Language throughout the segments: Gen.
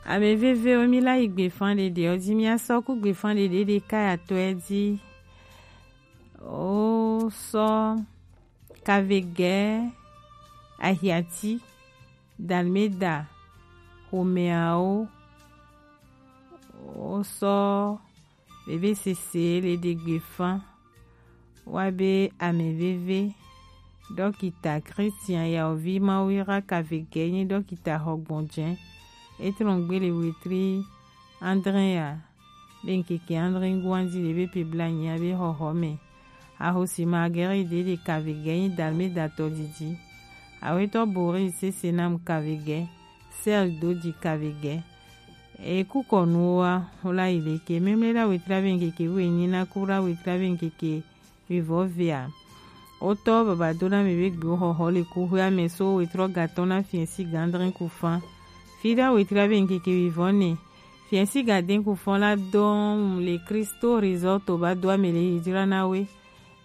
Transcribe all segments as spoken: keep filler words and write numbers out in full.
Ame vevewo, mi la yi gbefan ɖeɖe ɔ ji, mi asɔ ku gbefan ɖeɖe ɖeka ya tɔ ɛ ji. O sɔ Kavegɛ, Ahiati, Dalmeda, Homɛawo, o sɔ bebe sese le ɖe gbefan wa be ame veve. Dɔkita Christian Yaovi Mawuira Kavegɛ nyi dɔkita xɔgbɔnjɛ. E trɔn gbe le wetri adre ya be ŋkeke adre guan ji le be pe blanyi ya be xɔxɔ mɛ. Ahosi Marguerite ɖe ɖe Kavegɛ nyi Dalmeda tɔ didi. Awetɔ Boris Sesenam Kavegɛ, Serge Dodi Kavegɛ. E kukɔnuwo wa, wo la yi leke? Memle la wetri abe ŋkeke wu enyi na ku la wetri abe ŋkeke wivɔ vea. Wotɔ baba do na mi be gbewo xɔxɔ le kuxwea mɛ so wetrɔ gatɔ na fiɛsi gandrin kufan. Fi la wetri abe ŋkeke wivɔ nɛ. Fiɛsi gaden kufan la dɔn le Kristo Resort ba do ame le yi jra na we.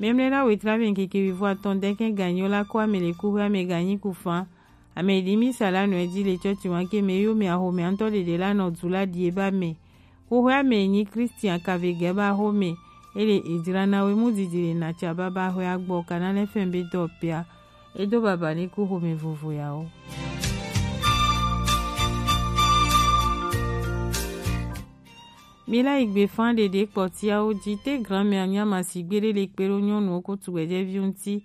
Memle la wetri abe ŋkeke wivɔ atɔn dɛkɛn ganyo la ko ame le kuxwea mɛ ganyi kufan. Ame ɖi mi sa la nɔ edzi le tsɔtsi wan ke me yo me axome ŋutɔ ɖeɖe la nɔ du la ɖi eba me. Xoxoe ame nyi Christian Kavegɛ ba xome. Ele edzra na we mu didi le natsa baba xwe agbɔ kana ne fɛn be dɔ pia. Edo baba ni ku xome vovo yawo. Mi la yi gbe fan ɖeɖe kpɔtiawo ji te grand-mère nya ma si gbe ɖe le kpe ɖo nyɔnuwo ko tugbɛjɛviwo ŋuti.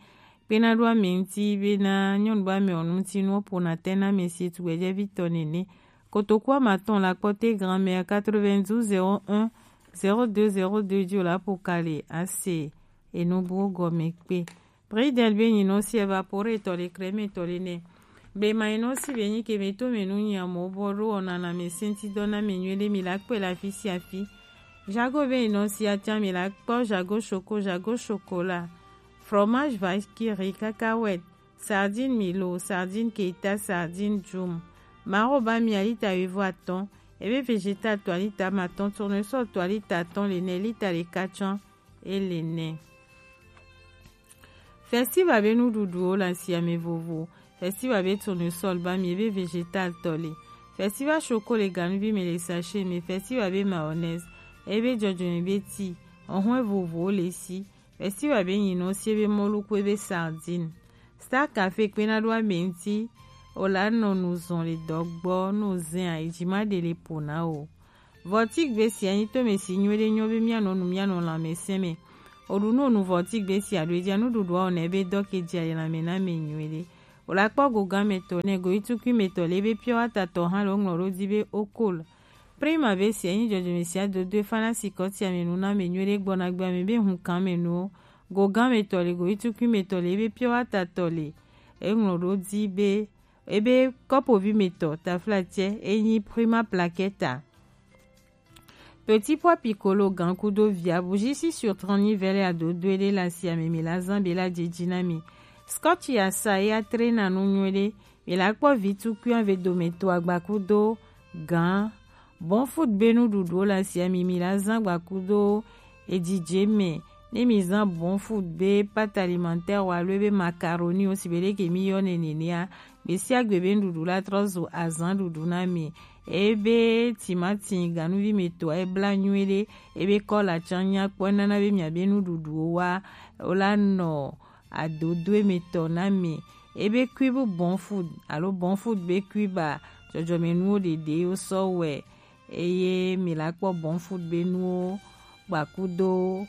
Kpena ɖo ame ŋuti bena nyɔnu be ame ɔnu ŋuti nuwo ƒona te na ame si tugbɛjɛvi tɔ nene. Kotoku ame atɔ̃ la kpɔ te grand-mère quatre-vingt-douze zéro un zéro deux zéro deux ji wòle aƒo ka le ase enubuwo gɔme kpe. Bridel be nyinɔ si evapore tɔ le kreme tɔ le nɛ. Blema nyinɔ si be nyi ke me to me nu nyi amewo bɔ ɖo wɔna na ame senti dɔ na me nyuie ɖe mi la kpɔe le afi sia afi. Jago be nyinɔ si atia mi la kpɔ jago choco, jago chocolat. Fromage vache qui rit, cacahuète, sardine Milo, sardine Keita, sardine Jum. Maro ba mi a lita wuivo atɔ̃, ebe végétal to a lita ame atɔ̃, tournesol to a lita atɔ̃, le nɛ lita ɖeka tsã, ele nɛ. Festival be nuɖuɖuwo le asiame vovo. Festival be tournesol ba mi ebe végétal tɔ le. Festival choco le ganuvi me le sachet me. Festival be mayonnaise, ebe jɔjɔme be ti, ohun vovowo le si. Festival be nyinɔ si ebe mɔlu ku ebe sardine. Star Café kpena ɖo ame ŋuti, o la nɔ nu zɔn le dɔgbɔ, no zɛn a, ejima ɖe le po na o. Vɔtigbe sia nyi tome si nyuie ɖe nyɔ be mianɔ nu mianɔ lãmesẽ me. O ɖu no nu vɔtigbe sia ɖo ejia nuɖuɖua o nɛ be dɔ ke jia yi lãme na me nyuie ɖe. O la kpɔ gogan me tɔ nɛ go itukui me tɔ le be pure water tɔ hã le o ŋlɔ ɖo di be o kol. Prima be sia nyi jɔjɔme sia dodo e fana si kɔtia me nu na me nyuie ɖe gbɔna gbea me be hun kan me nuwo. Gogan me tɔ le go itukui me tɔ le be pure water tɔ le. E ŋlɔ ɖo di be ebe kɔpovi me tɔ taflatse e nyi Prima Plaqueta. Petit pois piccolo gan kudo via bougie six sur trente nyi vɛlɛ adodo ɖe le asiame mi la zan be la jeji na mi. Scotch ya sa ya tre na nu nyuie ɖe. Mi la kpɔ vi tukui ave dome to agba kudo gan. Bon food be nuɖuɖuwo le asiame mi la zan agba kudo ejije me. Ne mi zan bon food be pâte alimentaire o alo ebe macaroni o si be ɖeke mi yɔ nɛ nenea, gbe sia gbe be nuɖuɖu la trɔ zu azan ɖuɖu na mi. Ebe timati ganuvi me tɔ e bla nyuie ɖe, ebe kɔla tsã nya kpɔ enana be mia be nuɖuɖuwo wa o la nɔ adodoe me tɔ na mi. Ebe cube bon food alo bon food be cube a, jɔjɔme nuwo ɖeɖe wo sɔ wɛ. Eye mi la kpɔ bon food be nuwo gbakudo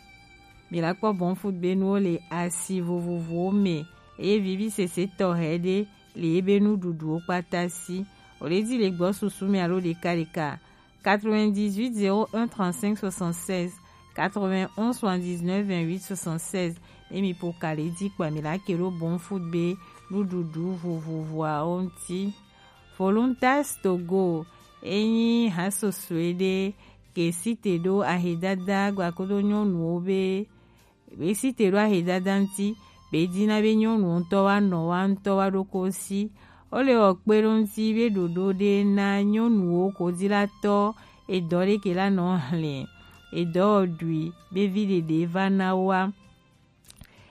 mi la kpɔ bon food be nuwo le asi vovovowo me. Eye vivi sese tɔxɛ ɖe le ebe nuɖuɖuwo kpata si. O le di le gbɔ susu me alo ɖeka ɖeka. Quatre-vingt-dix-huit zéro un trente-cinq soixante-seize, quatre-vingt-onze soixante-dix-neuf vingt-huit soixante-seize. Ne mi po ka le di kpa mi la ke ɖo bon food be nuɖuɖu vovovoawo ŋuti. Voluntas Togo, enyi hasosoe ɖe ke site ɖo ahedada gbakodo nyɔnuwo be, be site ɖo ahedada ŋuti, be dina be nyɔnuwo ŋutɔ wa nɔ wa ŋutɔ wa ɖo ko si. Wo le wɔ kpe ɖo ŋuti be ɖoɖo ɖe na nyɔnuwo ko di la tɔ edɔ ɖe ke la nɔ hlɛ edɔ ɖui be vi ɖeɖe va na wa.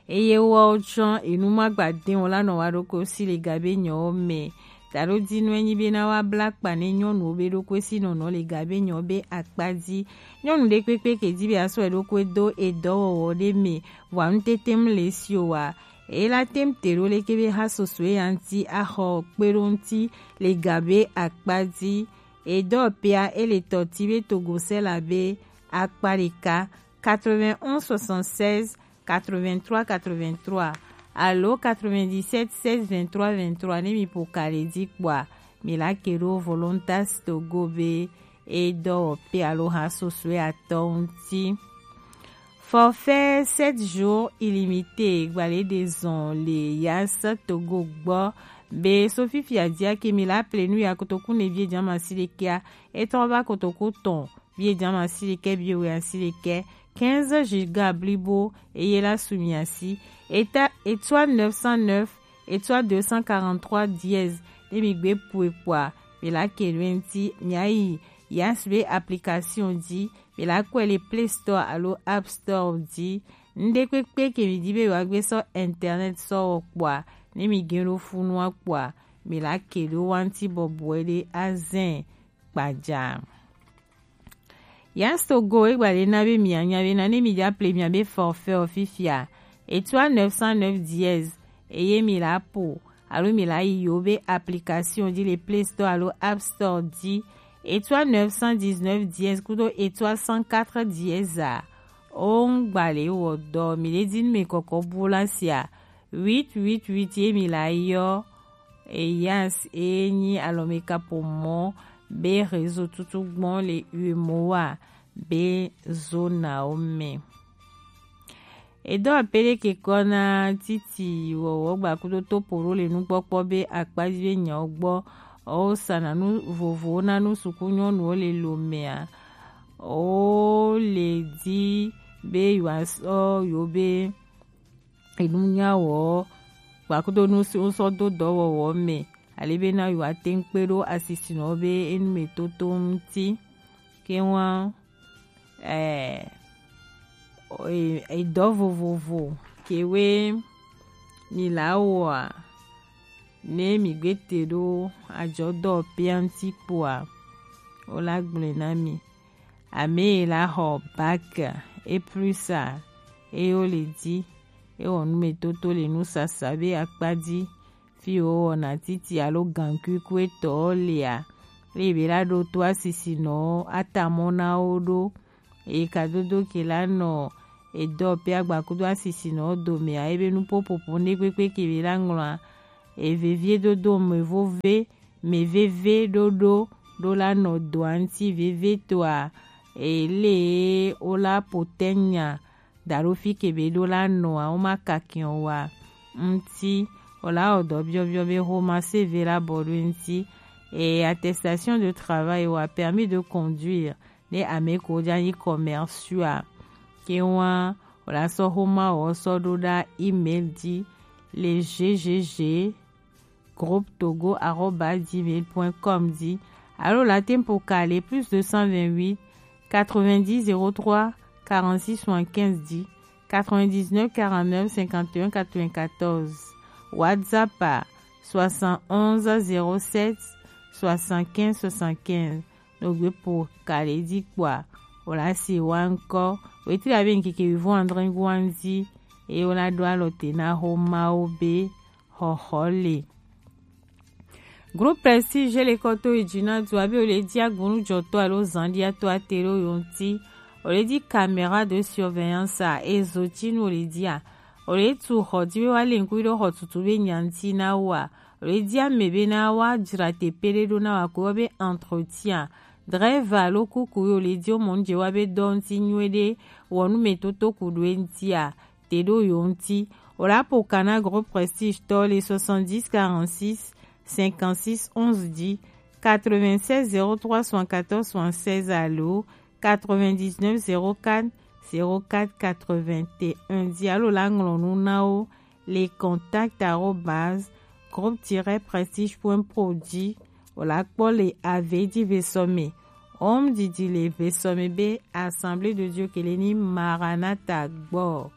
Eye woawo tsɔ enu ma gba de o la nɔ wa ɖo ko si le ga be nyɔwo me. Taɖo dinu enyi be na wa bla kpa ne nyɔnuwo be ɖokwe si nɔnɔ le ga be nyɔ be akpa ji. Nyɔnu ɖe kpekpe ke ji be asɔ eɖokwe do edɔwɔwɔ ɖe me, vɔa nu tete mu le si o wa. Eye la tem te ɖo leke be ha soso ya ŋuti axɔ kpe ɖo ŋuti le ga be akpa ji. Edɔ pea ele tɔti be togo sela be akpa ɖeka, quatre-vingt-onze soixante-seize quatre-vingt-trois quatre-vingt-trois alo quatre-vingt-dix-sept seize vingt-trois vingt-trois ne mi po ka le ji kpɔa, mi la ke ɖo Volontas Togo be e dɔ pe alo ha sosoe atɔ ŋuti. Forfait sept jours illimité gbalẽ ɖe zɔn le Yas Togo gbɔ be so fifia dia ke mi la ple nu ya kotoku ne vie jama si ɖekea, e trɔ va kotoku tɔn vie jama si ɖekɛ, vie wɛ asi ɖekɛ, quinze giga blibo eye la su mi asi. Eta etoile neuf cent neuf etoile deux cent quarante-trois dièse ne mi gbe pue kpɔa, mi la ke ɖo eŋuti, mi ayi Yas be application ji, mi la kɔe le Play Store alo App Store ji. Ŋɖe kpekpe ke mi di be wa gbe sɔ internet sɔ wɔ kpɔa, ne mi gɛ ɖo funua kpɔa, mi la ke ɖo wanti bɔbɔe ɖe azɛn kpaja. Yas Togo e gba ɖe na be mi anya be na ne mi ja ple mi be forfait o fifia, etoile neuf cent neuf dièse eye mi la po alo mi la yi yo be application ji le Play Store alo App Store ji, etoile neuf cent dix-neuf dièse kudo etoile cent quatre dièse a. O ŋgba le wɔ dɔ mi le di nu mi kɔkɔ bu la sia, huit huit huit ye mi la yɔ. Eyas e nyi alɔmekapo mɔ be réseau tutu gbɔn le uemoa be zonawo me. Edɔ pele ke kɔ na titi wɔwɔ gba kudo topo ɖo le nukpɔkpɔ be akpaji be nyawo gbɔ. O sana nu vovowo na nu suku nyɔnuwo le lo mea. O le di be yewoasɔ yewo be enunyawo kpakudo nu si wosɔ do dɔwɔwɔ me, ale be na yewoate ŋu kpe ɖo asisinɔwo be enumetoto ŋuti. Ke wa, eh, e-, edɔ vovovo kewoe mi la wɔa, ne mi gbe te ɖo ajɔdɔ pea ŋuti kpoa, wo la gblɔe na mi. Ame yi la xɔ bac, e plus a, eye wo le di, e wɔ numetoto le nusasa be akpa ji, fi wo wɔna titi alo gankui ku etɔ lea, eye be la ɖo to asisinɔwo atamɔ na wo ɖo. Eye kadodo ke la nɔ edɔ pe agbakudo asisinɔwo domea, ebe nupopopo ne kpekpe ke be la ŋlɔa, evevie dodo me vove, me veve ɖoɖo ɖo la nɔ doa ŋuti veve toa, ele wo la potɛnya da ɖo fi ke be ɖo la nɔa, wo ma kakiɔ wa ŋuti, o la wɔ dɔ biɔbiɔ be xoma C V la bɔ ɖo ŋuti, et attestation de travail wa permis de conduire ne ame ko ja nyi commercial a, ke wa o la sɔ xoma wɔ sɔ ɖo ɖa email ji le G G G groupe togo arobase gmail point com ji, alo la tempo kale plus deux cent vingt-huit quatre-vingt-dix zéro trois quarante-six soixante-quinze ji, quatre-vingt-dix-neuf quarante-neuf cinquante et un quatre-vingt-quatorze, WhatsApp a soixante-onze zéro sept soixante-quinze soixante-quinze. No gbe po kale ji kpoa, o la si wa ŋkɔ, wetri abe ŋkeke wivɔn adre guan ji, eye wo la ɖo alɔ te na xo mawo be xɔxɔ le. Groupe Prestige le kɔ to yi dzi na du abe o le di agunujɔtɔ alo zandiatɔ ate ɖo yo ŋuti. O le di caméra de surveillance a, ezo tinu o le dia. O le tu xɔ di be wa le ŋkui ɖo xɔ tutu be nyanti na wa. O le di ame be na wa dzra teƒe ɖe ɖo na wa ko be entretien. Driver alo kuku yo le di o mɔ nu dze wa be dɔ ŋuti nyuie ɖe, wɔ nu me toto ku ɖo ŋuti a. Te ɖo yo ŋuti. O la po kana groupe Prestige tɔ le soixante-dix quarante-six cinquante-six onze dix, quatre-vingt-seize zéro trois soixante-quatorze soixante-seize alo quatre-vingt-dix-neuf zéro quatre zéro quatre quatre-vingt-un dix alo la ŋlɔ nu na wo le contact arobase groupe tiret prestige point pro dzi. O la kpɔ le ave dzi ve sɔ me. Home didi le ve sɔ me be Assemblée de Dieu ke le ni Maranatha gbɔ.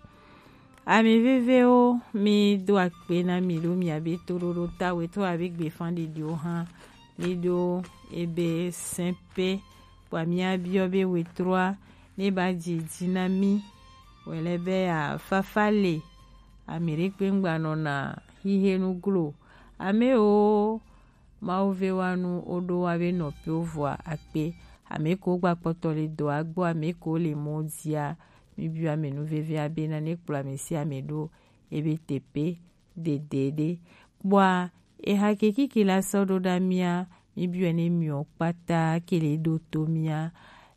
Ami vevewo, mi do akpe na mi ɖo miabe toɖoɖo ta wetɔ abe gbefanɖeɖiwo hã. Mi ɖo ebe sɛnpe kpɔa miabiɔ be wetroa ne ba dzi dzi na mi. Wɛlɛ be afafa le. Ami ɖe kpe ŋgba nɔna hihe nu glo. Amewo Mawu ve wa nu woɖo wa be nɔpewo vɔa akpe. Ame ko gba kpɔtɔ le dɔ agbo, ame ko le mɔ dzia, mi biɔ ame nu vevia bena ne kplɔ ame sia ame ɖo ebe tepe dede ɖe. Kpɔa eha ke kiki la sɔ ɖo ɖa mia, mi biɔ ne miɔ kpata ke le ɖo to mia.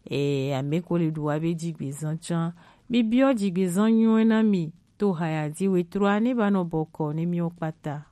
E, ame ko le ɖu wa be dzigbezan can. Mi biɔ dzigbezan nyuie na mi to haya dzi wetroa ne ba nɔ bɔkɔ ne miɔ kpata.